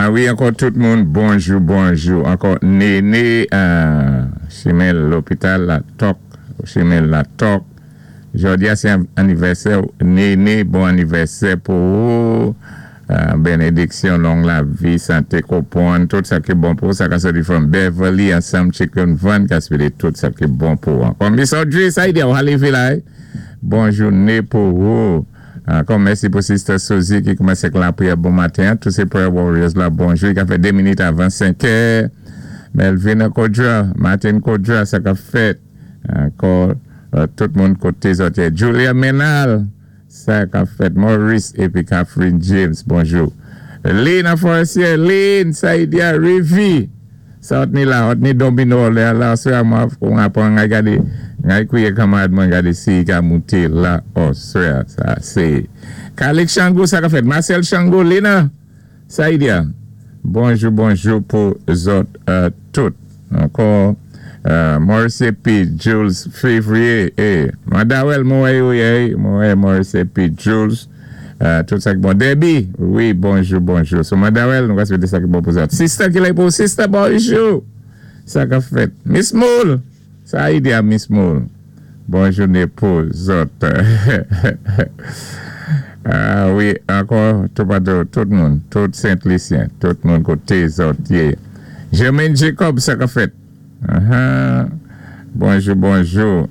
Ah wi, ankò tout moun, bonjou, bonjou. Ankò Néné, chimen lopital la tòk, chimen la tòk. Jòdi a sé anivèsè Néné, bon anivèsè pou ou. Bénédiksyon, long lavi, santé, konpwann, tout sa ki bon pou ou, sa ka soti from Beverly ansanm Chicken Van ka swété tout sa ki bon pou ou. Ankò Miss Audrey, sa y di ou lévé la? Bon jouné pou ou. Ankò mèsi pou Sister Suzy ki koumansé ak lapriyè bon maten. Tout sé prayer warriors la, bonjou. I ka fè 2 minit avan 5 è. Melvin Kodra, Martin Kodra, sa ka fèt. Ankò tout moun koté zòt. Julia Menal, sa ka fèt. Maurice épi Catherine James, bonjou. Lynn Forestier, Lynn, Saïdia, Rivi. Sa ni la, ni domino la, la, sé mwen, on aprann a gadé, a kwiyé kanmarad mwen gadé si i ka mouté la, oswè, sa sé. Kalik Chango, sa ka fèt. Marcel Chango, Lena, Saïdia. Bonjou, bonjou pou zòt tout. Ankò, Maurice P. Jules Février, eh, Madawel, mwen, wi, mwen, Maurice P. Jules, tout sa ki bon. Debbie, wi, bonjou, bonjou. So, Madawel, nou va swété sa ki bon pou zòt. Sister ki la pou Sister, bonjou. Sa ka fèt. Miss Moule, sa idea Miss Moule. Bon jouné pou zòt. Ah wi, ankò, tout patou, tout moun, tout Sent-Lisyen, tout moun koté zòt yé. Jermaine Jacob, sa ka fèt. Bonjou, bonjou.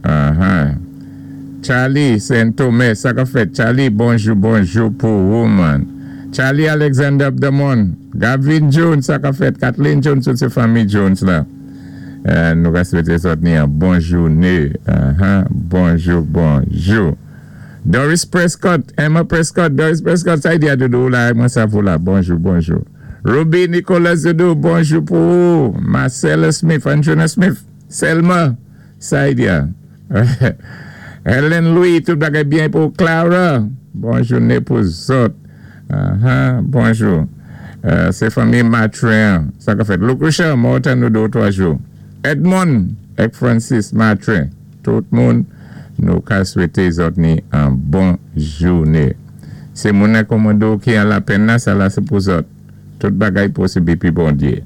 Charlie Saint-Thomas, sa ka fèt. Charlie, bonjou, bonjou pou ou, man. Charlie Alexander Abdamon, Gavin Jones, sa ka fèt. Kathleen Jones, tout sé fanmi Jones la. Nou ka swété zòt ni an bon jouné. Bonjou, bonjou. Doris Prescott, Emma Prescott, Doris Prescott, sa y di a doudou la, mwen sa pou la. Bonjou, bonjou. Ruby Nicolas Doudou, bonjou pou ou. Marcella Smith, Anjuna Smith, Selma, sa y di a. Helen Louis, tout bagay byen pou Clara. Bon jouné pou zòt. Bonjou. Sé fanmi Matrin, sa ka fèt. Luke Richard, mwen tann nou 2 ou 3 jou. Edmond ek Francis Matrin, tout moun nou ka swété zòt ni an bon jouné. Sé moun nan kòmando ki an lapenn la, sa la sé pou zòt. Tout bagay posib épi Bondyé.